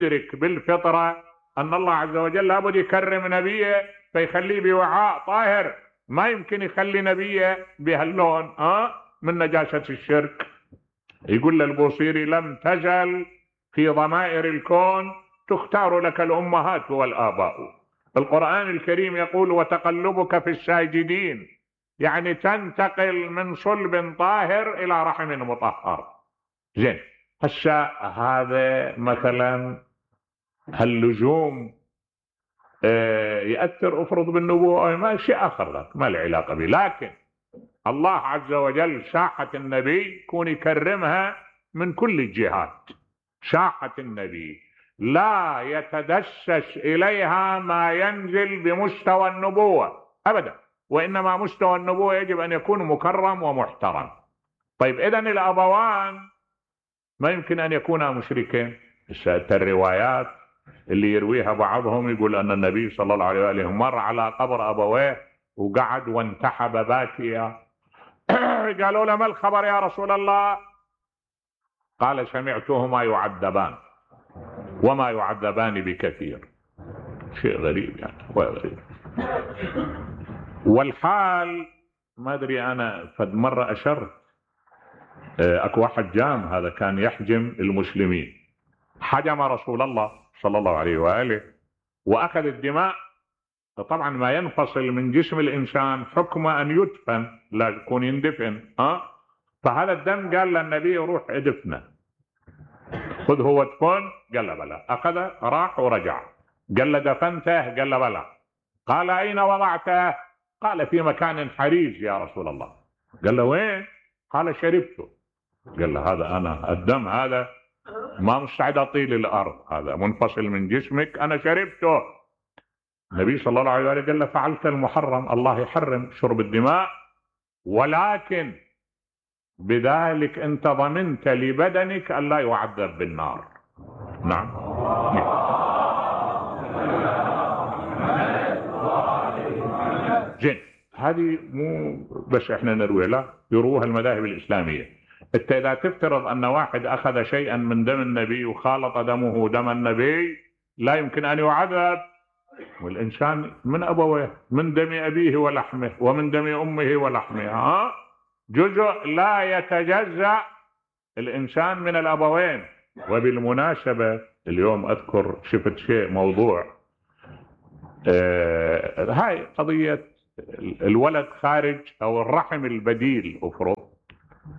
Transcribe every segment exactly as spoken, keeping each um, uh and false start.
يدرك بالفطرة أن الله عز وجل لابد يكرم نبيه فيخليه بوعاء طاهر، ما يمكن يخلي نبيه بهاللون أه؟ من نجاسة الشرك. يقول للبوصيري: لم تزل في ضمائر الكون تختار لك الأمهات والآباء. القرآن الكريم يقول: وتقلبك في الساجدين، يعني تنتقل من صلب طاهر إلى رحم مطهر. زين، هسه هذا مثلا هاللزوم اه يأثر افرض بالنبوة، ما شيء آخر ذاك ما له علاقة به، لكن الله عز وجل ساحة النبي يكون يكرمها من كل الجهات. ساحة النبي لا يتدسس إليها ما ينزل بمستوى النبوة أبدا، وإنما مستوى النبوة يجب أن يكون مكرم ومحترم. طيب إذن الأبوان ما يمكن أن يكونا مشركين. الروايات اللي يرويها بعضهم يقول أن النبي صلى الله عليه وآله مر على قبر أبويه وقعد وانتحب باكيا. قالوا له: ما الخبر يا رسول الله؟ قال: سمعتهما يعذبان وما يعذبان بكثير. شيء غريب يعني، غريب. والحال ما أدري، أنا فد مرة أشرت أكو واحد جام، هذا كان يحجم المسلمين، حجم رسول الله صلى الله عليه وآله وأخذ الدماء. طبعا ما ينفصل من جسم الإنسان حكم أن يدفن، لا يكون يندفن أه؟ فهذا الدم قال للنبي: روح ادفنه، خذ هو دفن. قال له: بلى. أخذ راح ورجع. قال له: دفنته؟ قال له: بلى. قال: أين وضعته؟ قال: في مكان حريج يا رسول الله. قال له: وين؟ قال: شربته. قال له: هذا أنا الدم هذا ما مستعد أطيل الأرض، هذا منفصل من جسمك، أنا شربته. النبي صلى الله عليه وسلم قال له: فعلت المحرم، الله يحرم شرب الدماء، ولكن بذلك أنت ضمنت لبدنك أن لا يعذب بالنار. نعم. زين، هذه مو بس احنا نروي، لا يروها المذاهب الإسلامية. انت إذا تفترض أن واحد أخذ شيئا من دم النبي وخالط دمه دم النبي لا يمكن أن يعذب. والإنسان من أبويه، من دم أبيه ولحمه ومن دم أمه ولحمها، جزء لا يتجزأ الإنسان من الأبوين. وبالمناسبة اليوم أذكر شفت شيء موضوع آه هاي قضية الولد خارج أو الرحم البديل. أفرض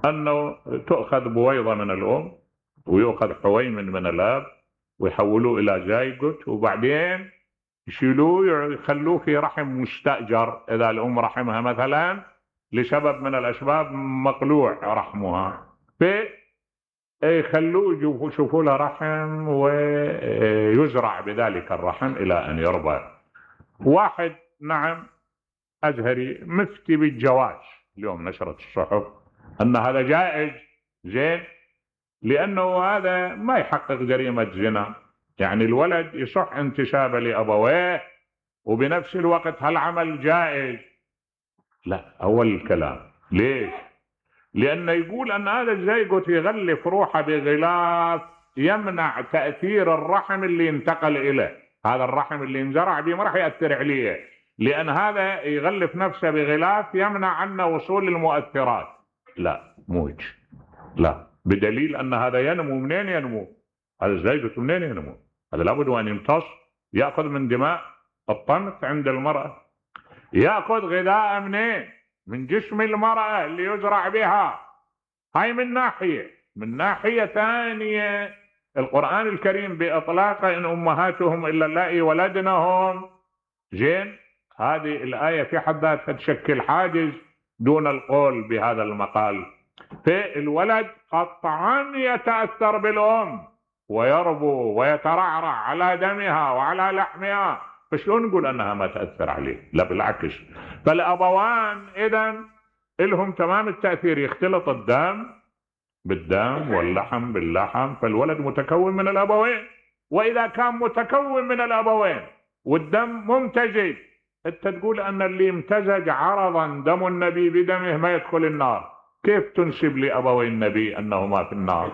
أنه تؤخذ بويضة من الأم ويؤخذ حويمن من الأب ويحولوه إلى زيجوت، وبعدين يشيلوه يخلوه في رحم مستأجر. إذا الأم رحمها مثلا لسبب من الأسباب مقلوع رحمها، فيخلوه يشوفوا له رحم ويزرع بذلك الرحم إلى أن يرضى. واحد نعم أزهري مفتي بالجواز، اليوم نشرت الصحف أن هذا جائز. زين، لأنه هذا ما يحقق جريمة زنا، يعني الولد يصح انتسابه لأبويه وبنفس الوقت هالعمل جائز. لا، أول الكلام ليش؟ لأنه يقول أن هذا الزيجوت يغلف روحه بغلاف يمنع تأثير الرحم اللي انتقل إليه. هذا الرحم اللي انزرع به ما راح يأثر عليه، لأن هذا يغلف نفسه بغلاف يمنع عنه وصول المؤثرات. لا موج، لا، بدليل أن هذا ينمو. منين ينمو؟ هذا الزيجوت منين ينمو؟ هذا لابد أن يمتص، يأخذ من دماء الطمث عند المرأة، يأخذ غذاء منين؟ من جسم المرأة اللي يزرع بها. هاي من ناحية. من ناحية ثانية القرآن الكريم بإطلاقه إن أمهاتهم إلا اللائي ولدنهم. زين، هذه الآية في حد ذاتها تشكل حاجز دون القول بهذا المقال. فالولد قطعا يتأثر بالأم ويربو ويترعرع على دمها وعلى لحمها، فشلون نقول أنها ما تأثر عليه؟ لا بالعكس. فالأبوان إذن لهم تمام التأثير، يختلط الدم بالدم واللحم باللحم، فالولد متكون من الأبوين. وإذا كان متكون من الأبوين والدم ممتزج، أنت تقول أن اللي امتزج عرضا دم النبي بدمه ما يدخل النار، كيف تنسب لأبوي النبي أنهما في النار؟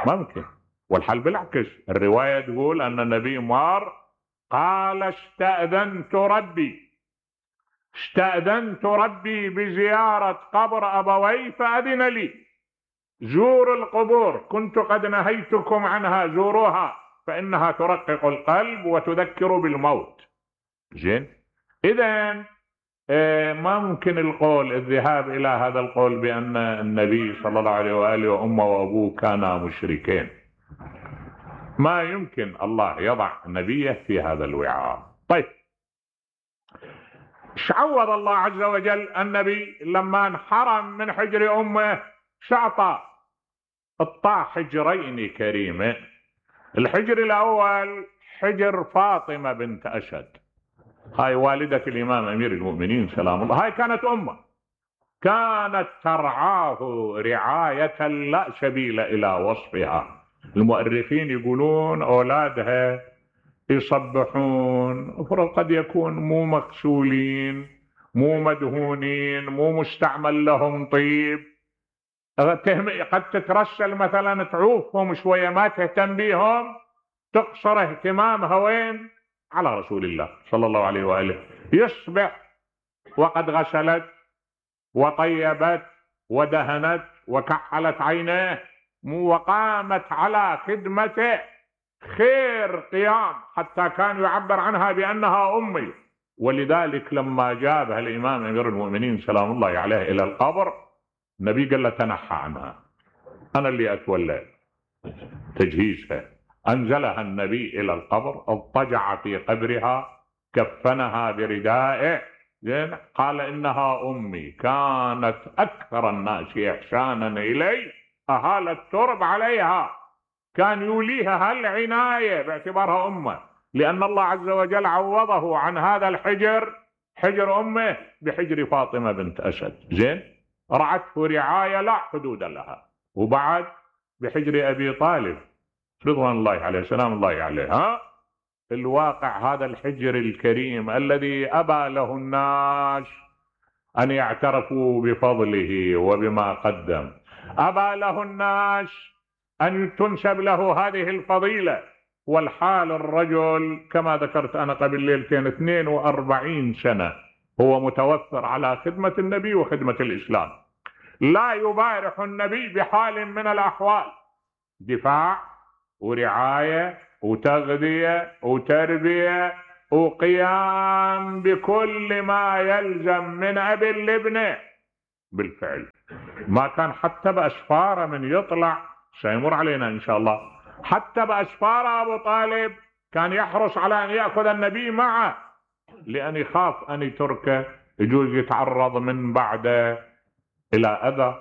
ممكن. والحال بالعكس، الرواية تقول أن النبي مار قال استأذنت ربي استأذنت ربي بزيارة قبر أبوي فأذن لي، زوروا القبور، كنت قد نهيتكم عنها، زوروها فإنها ترقق القلب وتذكر بالموت. زين، إذن ما ممكن القول الذهاب إلى هذا القول بأن النبي صلى الله عليه وآله وأمه وأبوه كانا مشركين. ما يمكن الله يضع نبيه في هذا الوعاء. طيب، شعوض الله عز وجل النبي لما انحرم من حجر أمه؟ شعطى اطاع حجرين كريمين. الحجر الأول حجر فاطمة بنت أسد، هاي والدة الإمام أمير المؤمنين سلام الله، هاي كانت أمه، كانت ترعاه رعاية لا سبيل إلى وصفها. المؤرخين يقولون أولادها يصبحون افرض قد يكون مو مغسولين، مو مدهونين، مو مستعمل لهم طيب، قد تترسل مثلا تعوفهم شوية، ما تهتم بيهم، تقصر اهتمامها وين؟ على رسول الله صلى الله عليه وآله. يصبح وقد غسلت وطيبت ودهنت وكحلت عينيه وقامت على خدمته خير قيام، حتى كان يعبر عنها بأنها أمي. ولذلك لما جابها الإمام أمير المؤمنين سلام الله عليه إلى القبر، النبي قال له تنحى عنها، أنا اللي أتولى تجهيزها. أنزلها النبي إلى القبر، اضطجع في قبرها، كفنها بردائه، قال إنها أمي، كانت أكثر الناس إحسانا إلي، أهال الترب عليها، كان يوليها هالعناية باعتبارها أمه، لأن الله عز وجل عوضه عن هذا الحجر، حجر أمه، بحجر فاطمة بنت أسد. زين، رعته رعاية لا حدود لها. وبعد بحجر أبي طالب رضوان الله عليه سلام الله عليه، ها الواقع هذا الحجر الكريم الذي أبى له الناس أن يعترفوا بفضله وبما قدم، أبى له الناس أن تنسب له هذه الفضيلة. والحال الرجل كما ذكرت أنا قبل ليلتين اثنين وأربعين سنة هو متوفر على خدمة النبي وخدمة الإسلام، لا يبارح النبي بحال من الأحوال، دفاع ورعاية وتغذية وتربية وقيام بكل ما يلزم من أب لابنه. بالفعل ما كان حتى بأسفاره من يطلع، سيمر علينا إن شاء الله، حتى بأسفاره أبو طالب كان يحرص على أن يأخذ النبي معه، لأن يخاف أن يتركه يجوز يتعرض من بعده إلى أذى.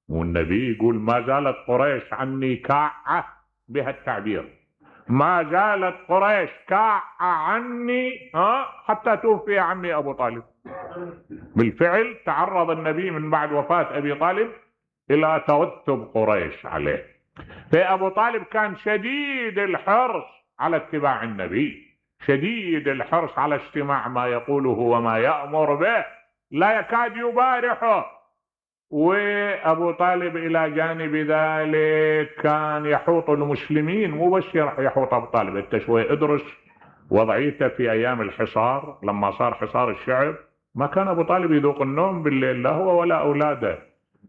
والنبي يقول ما زالت قريش عني كاعة، بها التعبير، ما زالت قريش كاعة عني ها حتى توفي عمي أبو طالب. بالفعل تعرض النبي من بعد وفاة أبي طالب إلى توتب قريش عليه. فأبو طالب كان شديد الحرص على اتباع النبي، شديد الحرص على استماع ما يقوله وما يأمر به، لا يكاد يبارحه. وأبو طالب إلى جانب ذلك كان يحوط المسلمين، مو بس يحوط أبو طالب، أنت شوي ادرس وضعيته في أيام الحصار، لما صار حصار الشعب ما كان أبو طالب يذوق النوم بالليل، لا هو ولا أولاده،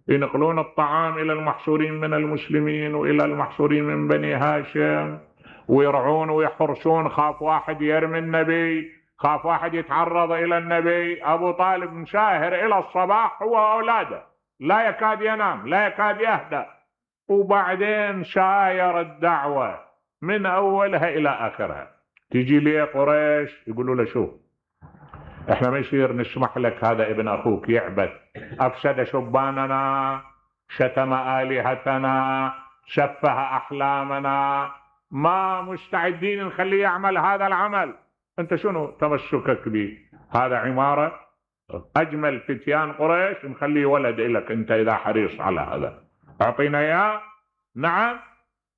ينقلون الطعام إلى المحصورين من المسلمين وإلى المحصورين من بني هاشم، ويرعون ويحرسون، خاف واحد يرمي النبي، خاف واحد يتعرض إلى النبي. أبو طالب مشاهر إلى الصباح هو وأولاده، لا يكاد ينام، لا يكاد يهدأ. وبعدين شاير الدعوة من أولها إلى آخرها. تيجي لي قريش يقولوا له شوف، احنا ما يصير نسمح لك هذا ابن أخوك يعبث، أفسد شباننا، شتم آلهتنا، سفه أحلامنا، ما مستعدين نخليه يعمل هذا العمل. أنت شنو تمسكك به؟ هذا عمارة أجمل فتيان قريش مخليه ولد إلك، أنت إذا حريص على هذا أعطينا إياه، نعم،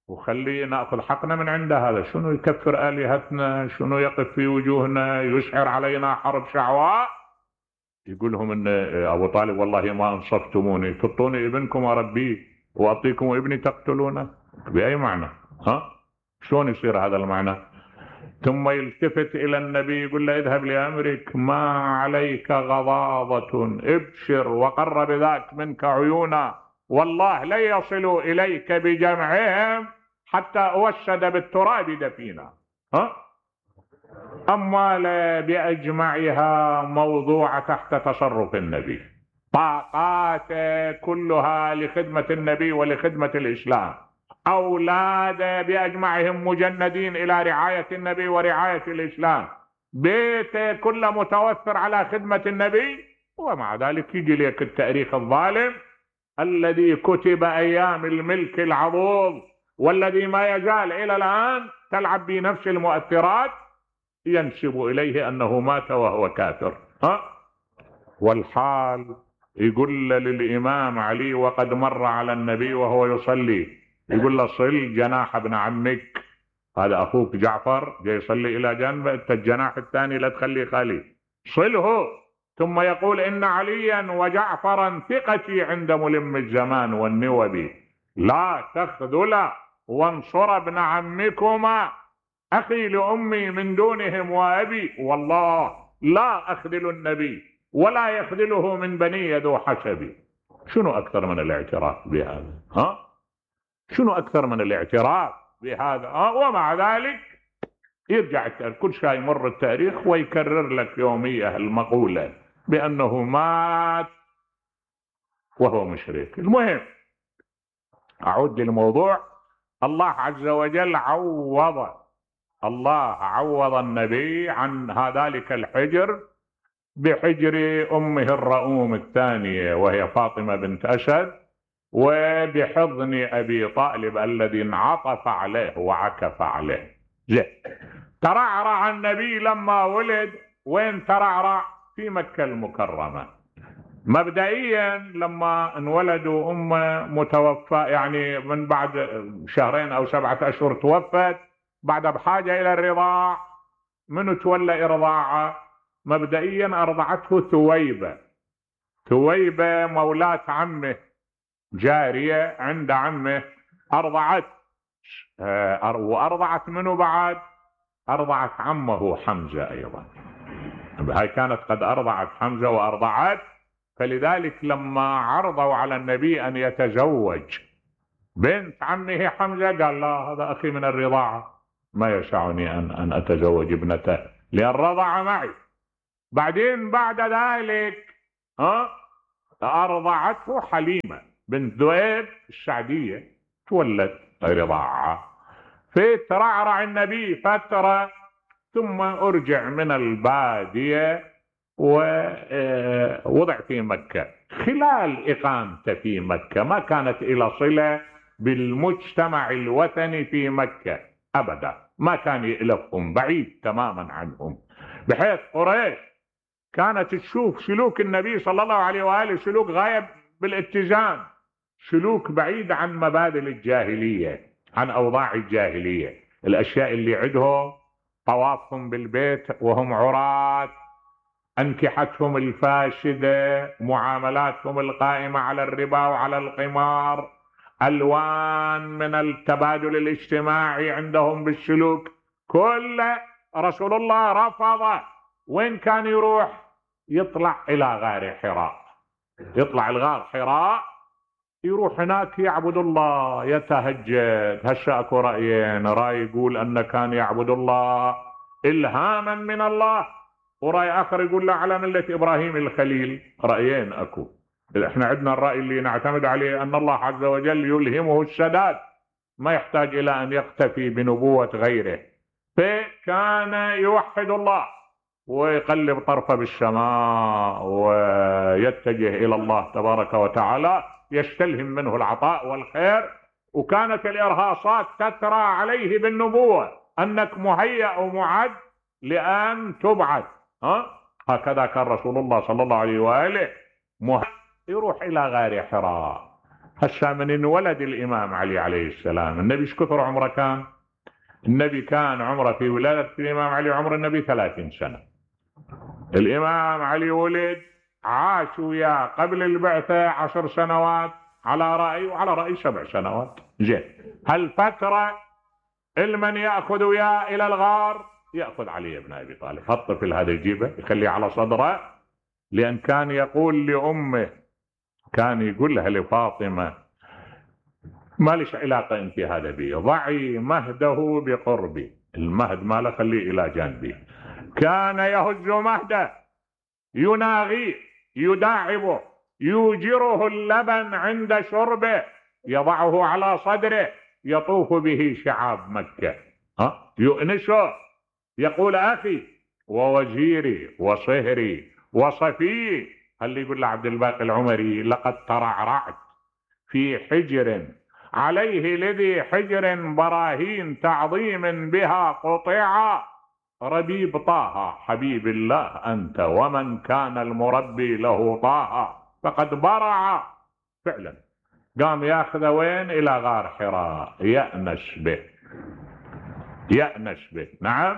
وخليه نأخذ حقنا من عنده. هذا شنو يكفر آلهتنا، شنو يقف في وجوهنا، يشعر علينا حرب شعواء. يقول لهم إن أبو طالب والله ما أنصفتموني، تطوني ابنكم أربيه وأعطيكم ابني تقتلونه، بأي معنى؟ ها شلون يصير هذا المعنى؟ ثم يلتفت الى النبي يقول له اذهب لامرك ما عليك غضاضة، ابشر وقر بذاك منك عيونا، والله لن يصلوا اليك بجمعهم حتى اوشد بالتراب دفينا. ها اما باجمعها موضوعة تحت تصرف النبي، طاقات كلها لخدمة النبي ولخدمة الاسلام، أولاد بأجمعهم مجندين إلى رعاية النبي ورعاية الإسلام، بيت كله متوفر على خدمة النبي، ومع ذلك يجي لك التاريخ الظالم الذي كتب أيام الملك العضوض والذي ما يزال إلى الآن تلعب بنفس المؤثرات، ينسب إليه أنه مات وهو كافر. ها والحال يقول للإمام علي وقد مر على النبي وهو يصلي، يقول له صل جناح ابن عمك، هذا اخوك جعفر جاي يصلي الى جنبه، انت الجناح الثاني لا تخليه خالي، صله. ثم يقول ان عليا وجعفرا ثقتي عند ملم الزمان والنوب، لا تخذلا وانصر ابن عمكما اخي لامي من دونهم وابي، والله لا اخذل النبي ولا يخذله من بني ذو حسبي. شنو اكثر من الاعتراف بهذا؟ ها شنو أكثر من الاعتراف بهذا؟ آه ومع ذلك يرجع كل شيء يمر التاريخ ويكرر لك يومية المقولة بأنه مات وهو مشرك. المهم أعود للموضوع. الله عز وجل عوض الله عوض النبي عن ذلك الحجر بحجر أمه الرؤوم الثانية وهي فاطمة بنت أسد، وبحضن أبي طالب الذي انعطف عليه وعكف عليه. زين، ترعرع النبي لما ولد، وين ترعرع؟ في مكة المكرمة. مبدئيا لما انولدوا أمه متوفى، يعني من بعد شهرين أو سبعة أشهر توفت، بعد بحاجة إلى الرضاع. منو تولى إرضاعه؟ مبدئيا أرضعته ثويبة. ثويبة مولاة عمه، جارية عند عمه، أرضعت وأرضعت منه بعد؟ أرضعت عمه حمزة أيضا. هاي كانت قد أرضعت حمزة وأرضعت، فلذلك لما عرضوا على النبي أن يتزوج بنت عمه حمزة قال لا، هذا أخي من الرضاعة، ما يسعني أن, أن أتزوج ابنته لأن رضع معي. بعدين بعد ذلك ها أرضعته حليمة بنت ذؤيب السعدية، تولد رضاعة. فترعرع النبي فترة، ثم أرجع من البادية ووضع في مكة. خلال إقامته في مكة ما كانت إلى صلة بالمجتمع الوثني في مكة أبدا، ما كان يألفهم، بعيد تماما عنهم، بحيث قريش كانت تشوف سلوك النبي صلى الله عليه وآله سلوك غايب بالاتزان، سلوك بعيد عن مبادئ الجاهلية، عن أوضاع الجاهلية. الأشياء اللي عندهم طوافهم بالبيت وهم عراة، أنكحتهم الفاسدة، معاملاتهم القائمة على الربا وعلى القمار، ألوان من التبادل الاجتماعي عندهم بالسلوك، كل رسول الله رفضه. وين كان يروح؟ يطلع إلى غار حراء، يطلع الغار حراء، يروح هناك يعبد الله، يتهجد. هسه اكو رأيين، رأي يقول أنه كان يعبد الله إلهاما من الله، ورأي آخر يقول لا على ملة إبراهيم الخليل. رأيين أكو. احنا عندنا الرأي اللي نعتمد عليه أن الله عز وجل يلهمه السداد، ما يحتاج إلى أن يقتفي بنبوة غيره. فكان يوحد الله ويقلب طرفه بالسماء ويتجه إلى الله تبارك وتعالى، يستلهم منه العطاء والخير. وكانت الإرهاصات تترى عليه بالنبوة أنك مهيأ ومعد لأن تبعث. ها؟ هكذا كان رسول الله صلى الله عليه وآله مهيأ يروح إلى غار حراء. هسه من انولد الإمام علي عليه السلام، النبي ايش كثر عمره كان؟ النبي كان عمره في ولادة الإمام علي عمر النبي ثلاثين سنة. الإمام علي ولد عاش وياه قبل البعثة عشر سنوات على رأي، وعلى رأي سبع سنوات. زين، هالفترة المن يأخذ وياه إلى الغار يأخذ علي بن أبي طالب. هالطفل هذا يجيبه يخليه على صدره، لأن كان يقول لأمه، كان يقول لها لفاطمة ما ليش علاقة أنت هذا بي، ضعي مهده بقربي، المهد ماله خليه إلى جانبي. كان يهز مهده يناغيه يداعبه يوجره اللبن عند شربه، يضعه على صدره يطوف به شعاب مكة، ها يؤنسه، يقول أخي ووزيري وصهري وصفي. هل يقول لعبد الباقي العمري لقد ترعرعت في حجر عليه لذي حجر براهين تعظيم بها قطيعا، ربيب طه حبيب الله أنت ومن كان المربي له طه فقد برع. فعلا قام ياخذ وين؟ إلى غار حراء يأنس به، يأنس به، نعم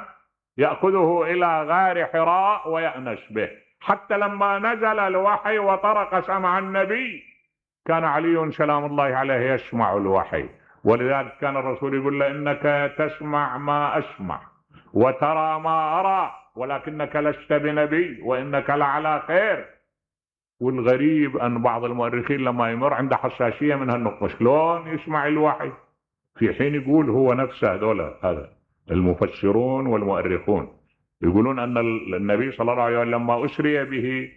يأخذه إلى غار حراء ويأنس به، حتى لما نزل الوحي وطرق سمع النبي كان علي سلام الله عليه يسمع الوحي، ولذلك كان الرسول يقول له إنك تسمع ما أسمع وترى ما أرى ولكنك لست بنبي وإنك لعلى خير. والغريب أن بعض المؤرخين لما يمر عنده حساسية من هالنقطة، شلون يسمع الوحي في حين يقول هو نفسه هذول هذا المفسرون والمؤرخون يقولون أن النبي صلى الله عليه وسلم لما أسري به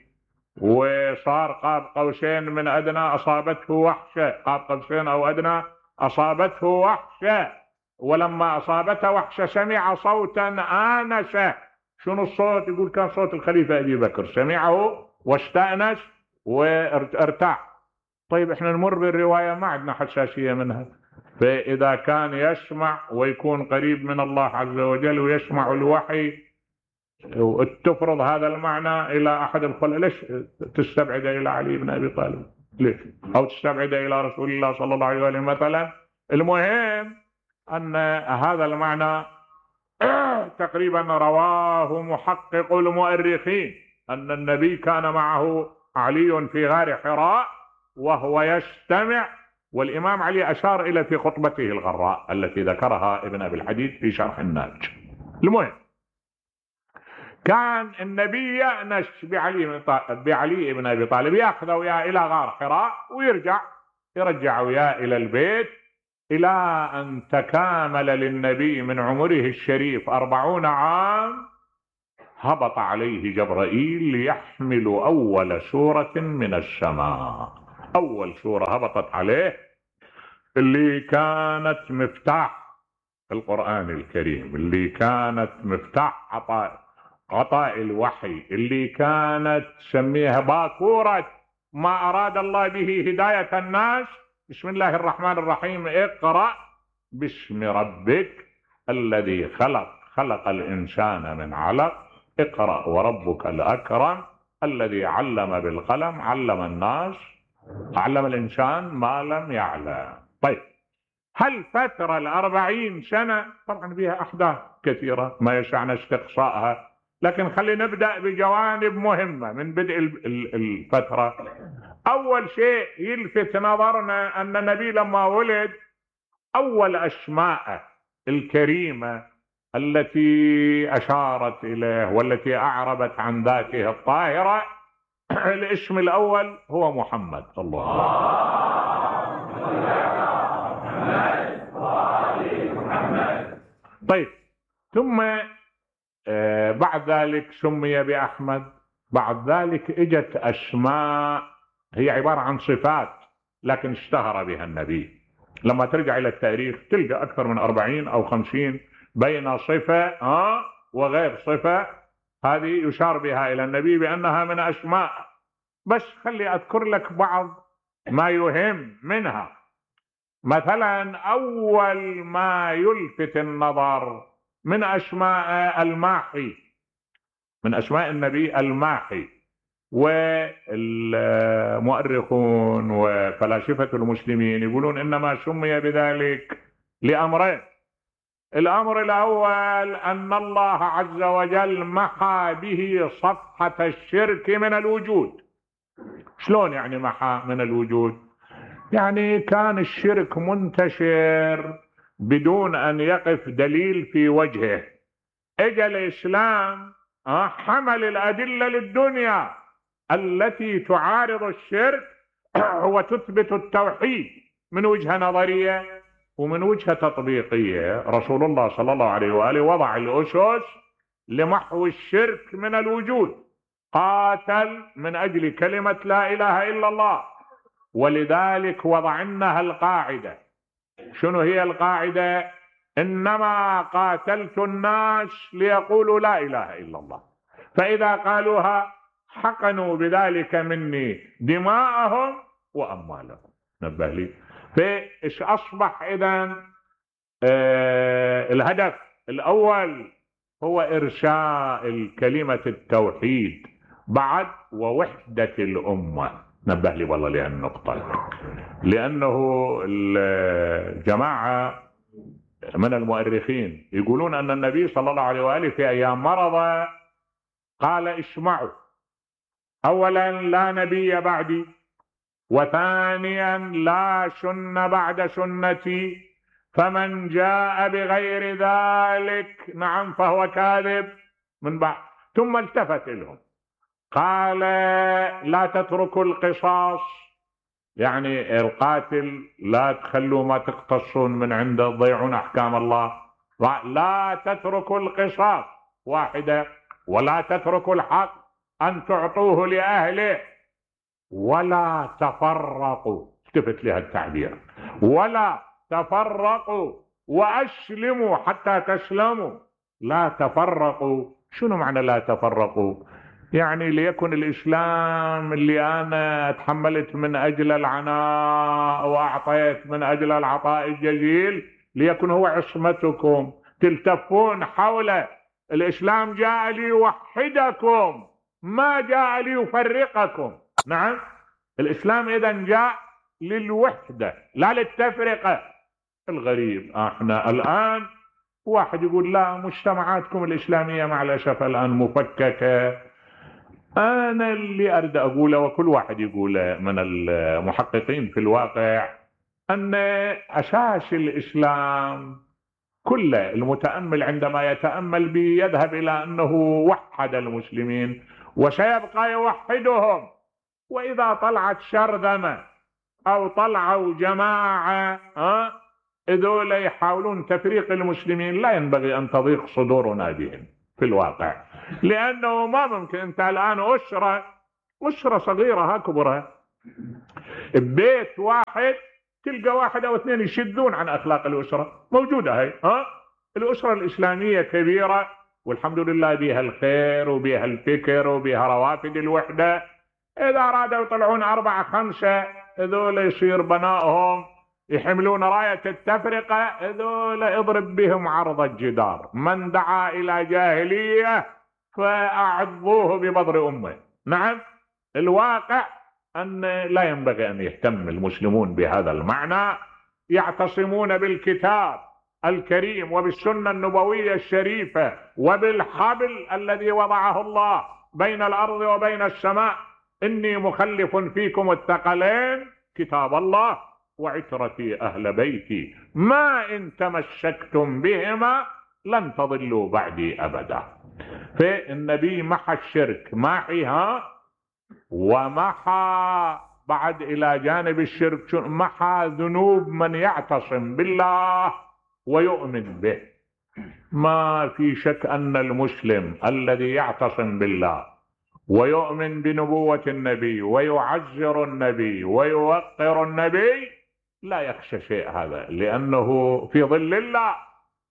وصار قاب قوسين من أدنى أصابته وحشة، قاب قوسين أو أدنى أصابته وحشة، ولما أصابته وحشة سمع صوتا آنسه. شنو الصوت؟ يقول كان صوت الخليفة أبي بكر، سمعه واستأنس وارتاح. طيب احنا نمر بالرواية ما عندنا حساسية منها، فإذا كان يسمع ويكون قريب من الله عز وجل ويسمع الوحي وتفرض هذا المعنى إلى أحد الخلق، ليش تستبعد إلى علي بن أبي طالب؟ ليش؟ أو تستبعد إلى رسول الله صلى الله عليه وسلم مثلا؟ المهم أن هذا المعنى تقريبا رواه محقق المؤرخين أن النبي كان معه علي في غار حراء وهو يستمع، والإمام علي أشار إلى في خطبته الغراء التي ذكرها ابن أبي الحديد في شرح الناج. المهم كان النبي يأنس بعلي بعلي بن أبي طالب، يأخذه وياه إلى غار حراء ويرجع يرجع وياه إلى البيت، إلى أن تكامل للنبي من عمره الشريف أربعون عام هبط عليه جبرائيل ليحمل أول سورة من السماء. أول سورة هبطت عليه اللي كانت مفتاح القرآن الكريم، اللي كانت مفتاح عطاء عطاء الوحي، اللي كانت سميها باكورة ما أراد الله به هداية الناس. بسم الله الرحمن الرحيم، اقرأ باسم ربك الذي خلق خلق الإنسان من علق، اقرأ وربك الأكرم الذي علم بالقلم علم الناس علم الإنسان ما لم يعلم. طيب هل فترة الأربعين سنة طبعا فيها أحداث كثيرة ما يسعنا استقصائها، لكن خلينا نبدأ بجوانب مهمة من بدء الفترة. أول شيء يلفت نظرنا أن النبي لما ولد أول أسماء الكريمة التي أشارت إليه والتي أعربت عن ذاته الطاهرة الاسم الأول هو محمد. الله طيب ثم آه بعد ذلك سمي بأحمد. بعد ذلك اجت أسماء هي عبارة عن صفات لكن اشتهر بها النبي. لما ترجع إلى التاريخ تلقى أكثر من أربعين أو خمسين بين صفة آه وغير صفة هذه يشار بها إلى النبي بأنها من أسماء. بس خلي أذكر لك بعض ما يهم منها. مثلا أول ما يلفت النظر من أسماء الماحي، من أسماء النبي الماحي، والمؤرخون وفلاسفة المسلمين يقولون إنما سمي بذلك لأمرين. الأمر الأول أن الله عز وجل محى به صفحة الشرك من الوجود. شلون يعني محى من الوجود؟ يعني كان الشرك منتشر بدون أن يقف دليل في وجهه. اجى الإسلام حمل الأدلة للدنيا التي تعارض الشرك وتثبت التوحيد من وجهة نظرية ومن وجهة تطبيقية. رسول الله صلى الله عليه وآله وضع الأسس لمحو الشرك من الوجود، قاتل من أجل كلمة لا إله إلا الله، ولذلك وضعناها القاعدة. شنو هي القاعدة؟ إنما قاتلت الناس ليقولوا لا إله إلا الله، فإذا قالوها حقنوا بذلك مني دماءهم وأموالهم. نبه لي. فإيش أصبح إذن؟ آه الهدف الأول هو إرساء كلمة التوحيد بعد ووحدة الأمة. نبه لي والله لهذه النقطة، لأنه الجماعة من المؤرخين يقولون أن النبي صلى الله عليه وآله في أيام مرضه قال اسمعوا، أولا لا نبي بعدي، وثانيا لا سنة بعد سنتي، فمن جاء بغير ذلك نعم فهو كاذب من بعد. ثم التفت لهم قال لا تتركوا القصاص، يعني القاتل لا تخلوا ما تقتصون من عنده تضيعون أحكام الله. لا تتركوا القصاص واحدة، ولا تتركوا الحق أن تعطوه لأهله، ولا تفرقوا. التفت لها التعبير، ولا تفرقوا وأسلموا حتى تسلموا. لا تفرقوا. شنو معنى لا تفرقوا؟ يعني ليكن الإسلام اللي أنا تحملت من أجل العناء وأعطيت من أجل العطاء الجزيل ليكن هو عصمتكم، تلتفون حوله. الإسلام جاء ليوحدكم، ما جاء ليفرقكم. نعم، الإسلام إذن جاء للوحدة لا للتفرقة. الغريب احنا الآن واحد يقول لا مجتمعاتكم الإسلامية مع الأسف الآن مفككة. أنا اللي أريد أقوله وكل واحد يقوله من المحققين في الواقع أن أساس الإسلام كله المتأمل عندما يتأمل به يذهب إلى أنه وحد المسلمين وسيبقى يوحدهم. وإذا طلعت شرذمة أو طلعوا جماعة ها إذول يحاولون تفريق المسلمين، لا ينبغي أن تضيق صدورنا بهم في الواقع، لأنه ما ممكن. أنت الآن أسرة أسرة صغيرة هكبرة ببيت واحد تلقى واحد أو اثنين يشدون عن أخلاق الأسرة، موجودة هاي. ها الأسرة الإسلامية كبيرة والحمد لله بها الخير وبها الفكر وبها روافد الوحدة. إذا أرادوا يطلعون أربعة خمسة هذول يصير بنائهم يحملون راية التفرقة، هذول اضرب بهم عرض الجدار. من دعا إلى جاهلية فأعضوه ببضر أمه. نعم، الواقع أن لا ينبغي أن يهتم المسلمون بهذا المعنى، يعتصمون بالكتاب الكريم وبالسنة النبوية الشريفة وبالحبل الذي وضعه الله بين الأرض وبين السماء. إني مخلف فيكم الثقلين كتاب الله وعترتي أهل بيتي، ما إن تمسكتم بهما لن تضلوا بعدي أبدا. فالنبي محى الشرك محيها، ومحى بعد إلى جانب الشرك محى ذنوب من يعتصم بالله ويؤمن به. ما في شك أن المسلم الذي يعتصم بالله ويؤمن بنبوة النبي ويعزر النبي ويوقر النبي لا يخشى شيء هذا، لأنه في ظل الله.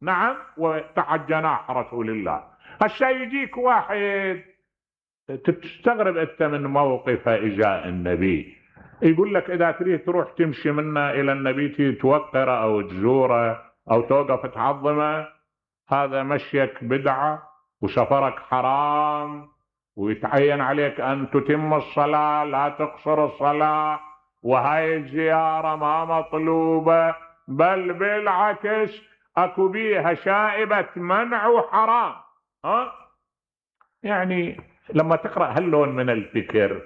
نعم، وتحت جناح رسول الله. هالشيء يجيك واحد تستغرب أنت من موقف إجاء النبي، يقول لك إذا تريد تروح تمشي منا إلى النبي توقره أو تزوره أو توقف تعظمه، هذا مشيك بدعة وسفرك حرام، ويتعين عليك أن تتم الصلاة لا تقصر الصلاة، وهاي الزيارة ما مطلوبة، بل بالعكس أكو بيها شائبة منع وحرام. ها يعني لما تقرأ هاللون من الفكر،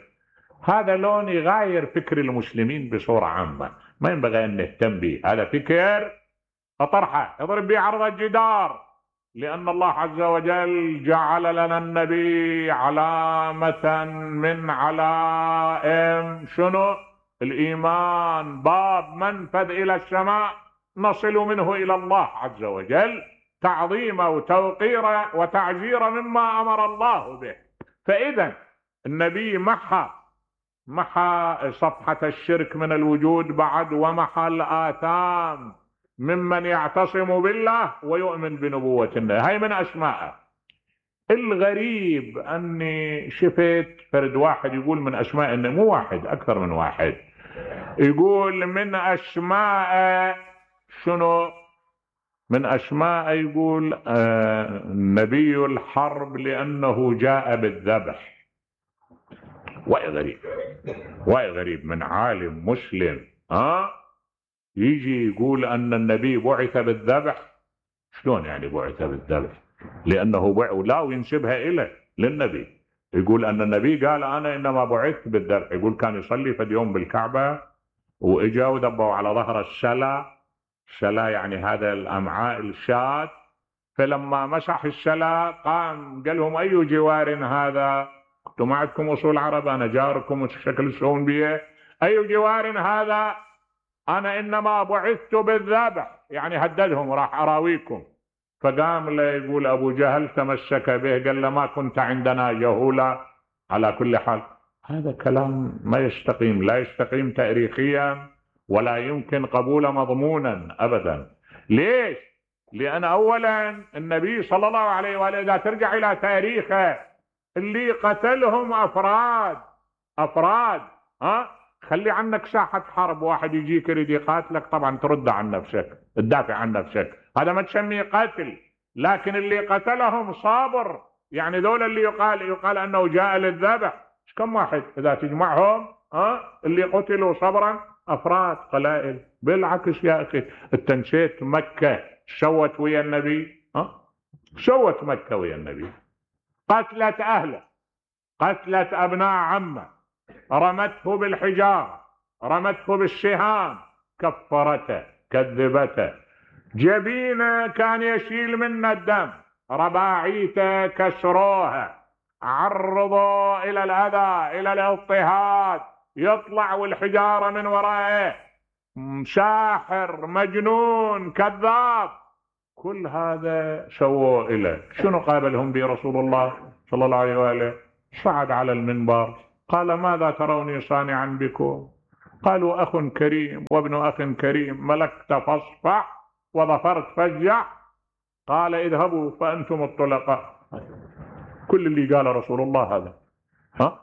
هذا لون يغاير فكر المسلمين بصورة عامة، ما ينبغي أن نهتم به. هذا فكر اطرحه اضرب به عرض الجدار، لأن الله عز وجل جعل لنا النبي علامة من علائم شنو؟ الإيمان، باب منفذ إلى السماء نصل منه إلى الله عز وجل، تعظيما وتوقيرا وتعزيرا مما أمر الله به. فإذا النبي محى محى صفحة الشرك من الوجود بعد، ومحى الآثام ممن يعتصم بالله ويؤمن بنبوة النبي. هاي من أسماءه. الغريب أني شفت فرد واحد يقول من أسماء النبي، مو واحد، أكثر من واحد، يقول من أسماء شنو؟ من أسماء يقول آه نبي الحرب لأنه جاء بالذبح. وأي غريب، وأي غريب من عالم مسلم ها يجي يقول أن النبي بعث بالذبح. شلون يعني بعث بالذبح؟ لأنه بعث لا وينسبها إليه للنبي، يقول أن النبي قال أنا إنما بعثت بالذبح. يقول كان يصلي في يوم بالكعبة وإجا وذبوا على ظهر السلا، السلا يعني هذا الأمعاء الشاة، فلما مسح السلا قام قال لهم أي جوار هذا؟ انتم ما عندكم أصول عرب، أنا جاركم وشكل تسوون بيه، أي جوار هذا؟ أنا إنما بعثت بالذبح، يعني هددهم راح أراويكم. فقام له يقول أبو جهل تمسك به، قال له ما كنت عندنا جهولا. على كل حال هذا كلام ما يستقيم، لا يستقيم تاريخيا ولا يمكن قبول مضمونا أبدا. ليش؟ لأن أولا النبي صلى الله عليه وآله إذا ترجع إلى تاريخه اللي قتلهم أفراد أفراد ها خلي عنك ساحة حرب، واحد يجيك يريد يقاتلك طبعا ترد عن نفسك، تدافع عن نفسك، هذا ما تسميه قتل. لكن اللي قتلهم صابر، يعني دول اللي يقال يقال أنه جاء للذبح، كم واحد إذا تجمعهم ها اللي قتلوا صبرا أفراد قلائل. بالعكس يا أخي، التنشيت مكة سوت ويا النبي ها سوت مكة ويا النبي، قتلت أهله، قتلت أبناء عمه، رمته بالحجارة، رمته بالسهام، كفرته، كذبته، جبينه كان يشيل منه الدم، رباعيته كسروها، عرضوا إلى الأذى، إلى الاضطهاد، يطلع والحجارة من ورائه، ساحر، مجنون، كذاب، كل هذا سووا إليه. شنو قابلهم به رسول الله صلى الله عليه وآله؟ صعد على المنبر قال ماذا تروني صانعا بكم؟ قالوا أخ كريم وابن أخ كريم، ملكت فاصفح وظفرت فاجع. قال اذهبوا فأنتم الطلقاء. كل اللي قال رسول الله هذا. ها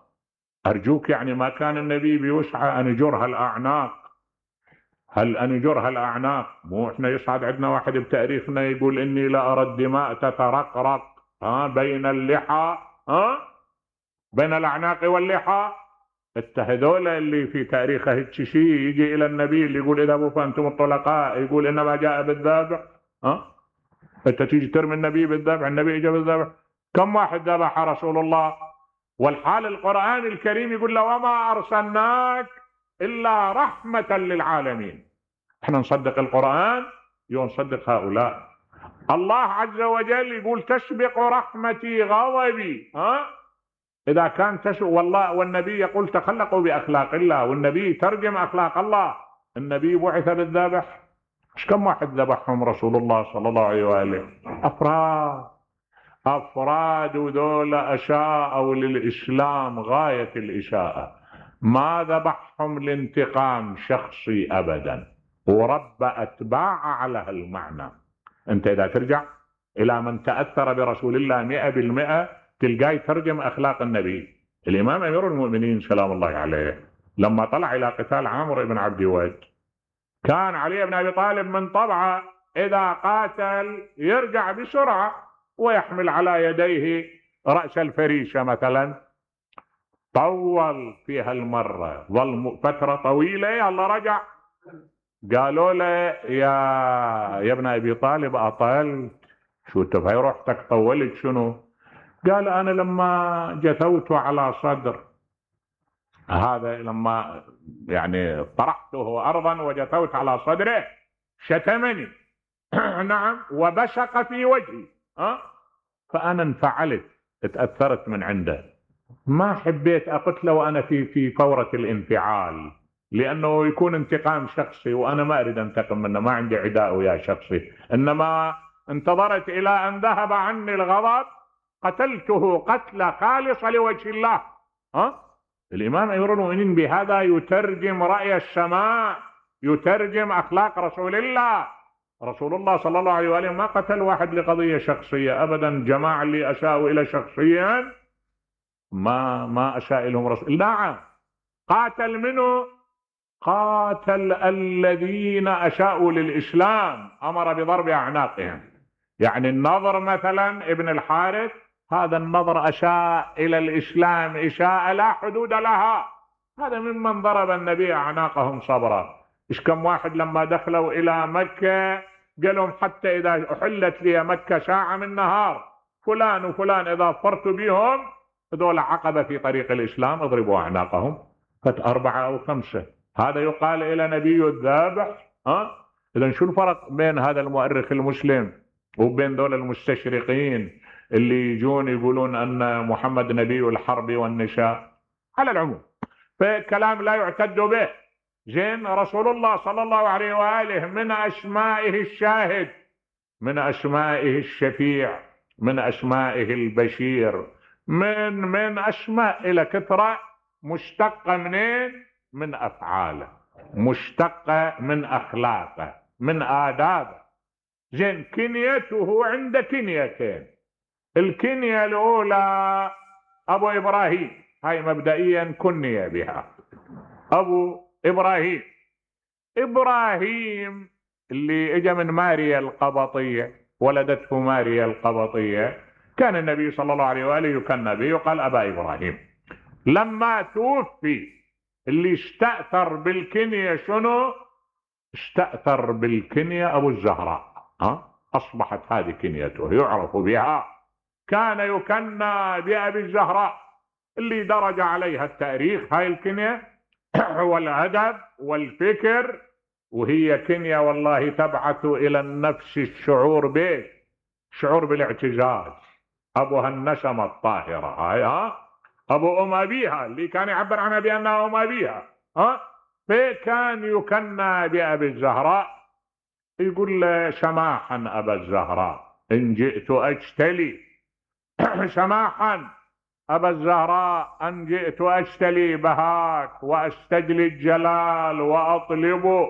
أرجوك، يعني ما كان النبي بيسعى أن يجرها الأعناق؟ هل أن يجرها الأعناق؟ مو إحنا يصعد عندنا واحد بتاريخنا يقول إني لا أرى الدماء تترقرق ها بين اللحى ها بين الأعناق واللحى. التهذول اللي في تاريخه التشي يجي إلى النبي اللي يقول اذهبوا فأنتم الطلقاء، يقول إنما جاء بالذبح. ها أنت تيجي ترمي النبي بالذبح، النبي جاء بالذبح. كم واحد ذبح رسول الله؟ والحال القرآن الكريم يقول له وما أرسلناك إلا رحمة للعالمين. احنا نصدق القرآن ونصدق هؤلاء. الله عز وجل يقول تسبق رحمتي غضبي. ها إذا كان تسبق والله، والنبي يقول تخلقوا بأخلاق الله، والنبي ترجم أخلاق الله. النبي بعث بالذبح، مش كم واحد ذبحهم رسول الله صلى الله عليه وآله؟ أفراد أفراد ذول أشاءوا للإسلام غاية الإشاءة، ما ذبحهم لانتقام شخصي أبدا، ورب أتباع على هالمعنى. أنت إذا ترجع إلى من تأثر برسول الله مئة بالمئة تلقاه يترجم أخلاق النبي. الإمام أمير المؤمنين سلام الله عليه لما طلع إلى قتال عامر بن عبد ود، كان علي بن أبي طالب من طبعه إذا قاتل يرجع بسرعة ويحمل على يديه رأس الفريشة مثلا. طول فيها المرة، ظل فترة طويلة، يلا رجع. قالوا له يا يا ابن أبي طالب أطلت، شو انت في روحتك طولت شنو؟ قال أنا لما جثوت على صدر هذا، لما يعني طرحته أرضا وجثوت على صدره شتمني، نعم وبشق في وجهي. ها فأنا انفعلت، اتأثرت من عنده، ما حبيت أقتله وأنا في في فورة الانفعال، لأنه يكون انتقام شخصي وأنا ما أريد أنتقم منه، ما عندي عداء ويا شخصي، إنما انتظرت إلى أن ذهب عني الغضب قتلته قتلة خالصة لوجه الله. ها الإمام أمير المؤمنين بهذا يترجم رأي السماء، يترجم أخلاق رسول الله. رسول الله صلى الله عليه وآله ما قتل واحد لقضية شخصية أبدا. جماعة اللي أساءوا إلى شخصيا ما ما أساء لهم رسول. نعم قاتل منه، قاتل الذين أساءوا للإسلام، أمر بضرب أعناقهم. يعني النضر مثلا ابن الحارث، هذا النضر أساء إلى الإسلام إساءة لا حدود لها، هذا ممن ضرب النبي أعناقهم صبرا. إيش كم واحد لما دخلوا إلى مكة قال لهم حتى إذا أحلت لي مكة ساعة من نهار فلان وفلان إذا فرت بهم هذول عقبة في طريق الإسلام اضربوا أعناقهم، فت أربعة أو خمسة. هذا يقال إلى نبي الذابح. ها إذا شو الفرق بين هذا المؤرخ المسلم وبين دول المستشرقين اللي يجون يقولون أن محمد نبي الحرب والنساء؟ على العموم فكلام لا يعتد به. زين رسول الله صلى الله عليه وآله من أسمائه الشاهد، من أسمائه الشفيع، من أسمائه البشير، من من أسماء إلى كثرة، مشتقة منين؟ من أفعاله، مشتقة من أخلاقه، من آدابه. زين كنيته عند كنيتين. الكنية الأولى أبو إبراهيم، هاي مبدئيا كني بها أبو إبراهيم. إبراهيم اللي اجى من ماريا القبطية، ولدته ماريا القبطية، كان النبي صلى الله عليه وآله يكنى به يقال أبا إبراهيم. لما توفي اللي استأثر بالكنية شنو؟ استأثر بالكنية أبو الزهراء. ها أصبحت هذه كنيته يعرف بها. كان يكنى بأبي الزهراء اللي درج عليها التاريخ هاي الكنية والأدب والفكر، وهي كنية والله تبعث إلى النفس الشعور به، شعور بالاعتزاز. أبوها النسمة الطاهرة هاي، ها أبو أم أبيها اللي كان يعبر عنها بأنها أم أبيها. ها فكان يكنى بأبي الزهراء، يقول له سماحا أبا الزهراء إن جئت أجتلي سماحا أبا الزهراء أن جئت أجتلي بهاك وأستجلي الجلال وأطلب